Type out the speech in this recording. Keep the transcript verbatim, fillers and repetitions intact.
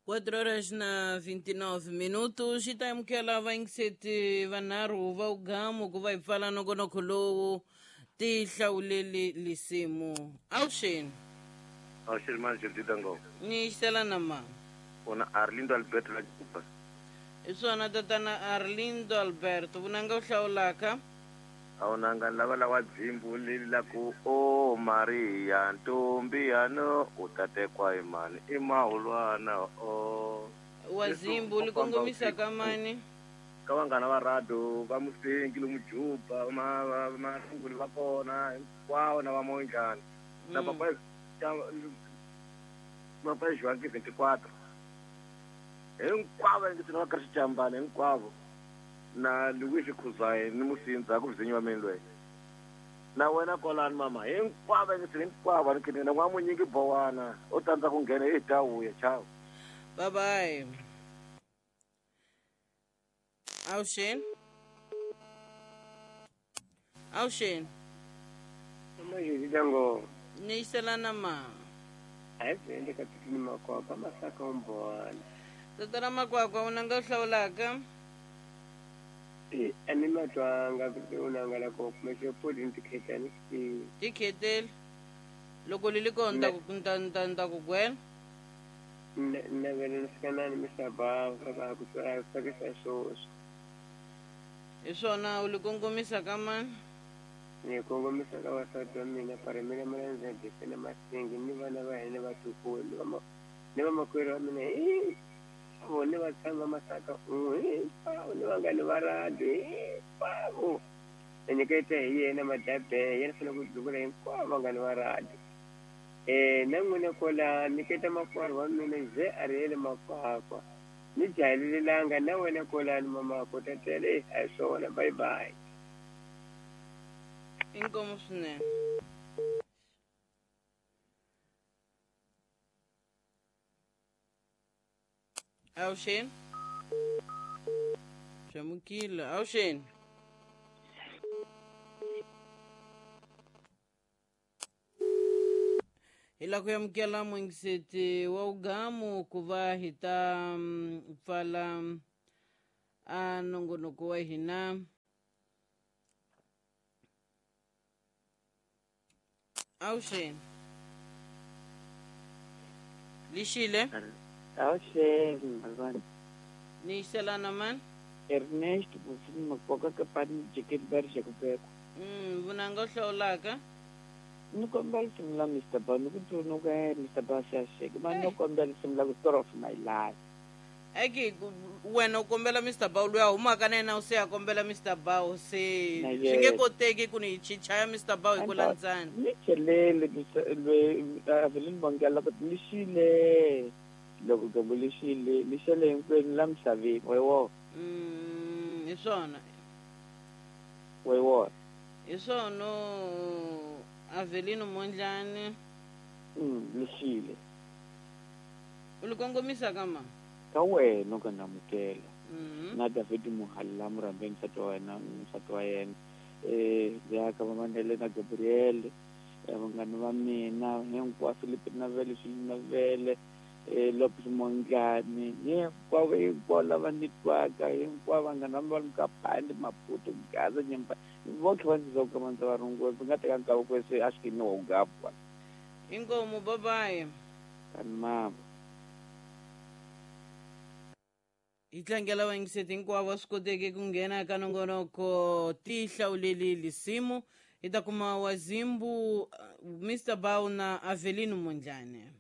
quatro horas na vinte e nove minutos xi ta amukela vayingiseti vanharhu va ugamu ku va hi pfala nongonoko lowu ti hlawuleli lisimu. Avuxeni. Avuxeni manje Didango. Ni xisela na ma. Ona Arlindo Alberto la Juba. Hi swona tatana Arlindo Alberto vunanga u hlawulaka. Awunanga lava lawa dzimbu leli la ku o Maria ntombi yano u ta tekwa hi mani i mahulwana o wa dzimbu li kongomisa ka mani ka vanghana va radio va Musengi lomu Juba ma marunguli va kona hinkwavo na va Monjani na papa papa João vinte e quatro hinkwavo ndzi va ka xijambana hinkwavo na Luis Khuzai ni Musindza ku vizinyiwa mina loyi na wena kwalani mama hinkwavo ndzi hinkwavo ni kini na n'wa munyingi bowana u tandza ku nghena hi ta vuya chao. Bye bye. Avuxeni. Avuxeni. Majidango. Ni xisela na ma. A hi endle ka tikini makwakwa masaka umbona. Tatana Makwakwa unanga u hlawulaka. E a ni matwanga ku unanga la ko kuma xipodi ni tikhetani xi. Tikheteli. Loko li li kona nta ku nta nta nta ku gwela. Na vele ni fika na ni misava va va ku tswala tsakisa swoswo. Hi swona u li kongomisa ka mani? Ni kongomisa ka vasati wa mina Parimela Malandzedese na Masingi ni vana va hina vatukulu ni va ni vamakwerhu wa mina hinkwavo ni vatshami va Masaka hinkwavo ni vanghani va radio hinkwavo. Ni nyiketa hi yena Madabe yena fanele ku duvula hinkwavo vanghani va radio. Eh na n'wina kwala nyiketa makwerhu wa mina ze Ariel Makwakwa ni jahelelanga na wena kwalani mama ko tatele a hi swona. Bye bye. Inkomu swinene. Avuxeni. Xamukile. Avuxeni. Hi la ku amukela muyingiseti wa ugamu ku va hi ta pfala a nongonoko wa hina. Avuxeni. Lixile. Avuxeni malwana. Ni xisela na mani? Ernest Musini Makwakwa ka pani jikeli ba ri xakubekwa. Mm, vunanga u hlawulaka. Ni kombela risimu la Mister Ba, ni ku tsundzuka Mister Ba Siyasheke, ma ni kombela risimu la ku Story of My Life. Eki wena u kombela Mister Ba loyi a humaka na yena u se a kombela Mister Ba se swi nge koteki ku ni chichaya Mister Ba hi ku landzana. Ni chelele loyi Avelin Bongela ku ni xile loko gombo li xile li xele hinkwenu la misaveni wa wona. Mm, hi swona. Wa wona. Hi swona Avelino Mondlane. Mm, li xile. U li kongomisa ka ma? Ka wena u ka namukela. Mm. Na David Muhalla murhambeni nsati wa wena nsati wa yena. Eh, ya ka va Mandela na Gabriel, vanghana va mina hinkwavo Philip Navele Swilo Navele. Eh Lopez Mongane hinkwavo hinkwavo lava ni twaka hinkwavo vanghana va va Mkapande Maputo Gaza Nyimba votlhe va ndzi ka mandza va rungula va nga teka nkarhi ku se a xi ni wa ugapwa. Inkomu bye bye. Kani mama. Hi tlangela vayingiseti hinkwavo va swi koteke ku nghena ka nongonoko ti hlawuleli lisimu. Hi ta kuma Wazimbu Mister Bao na Avelino Mondlane.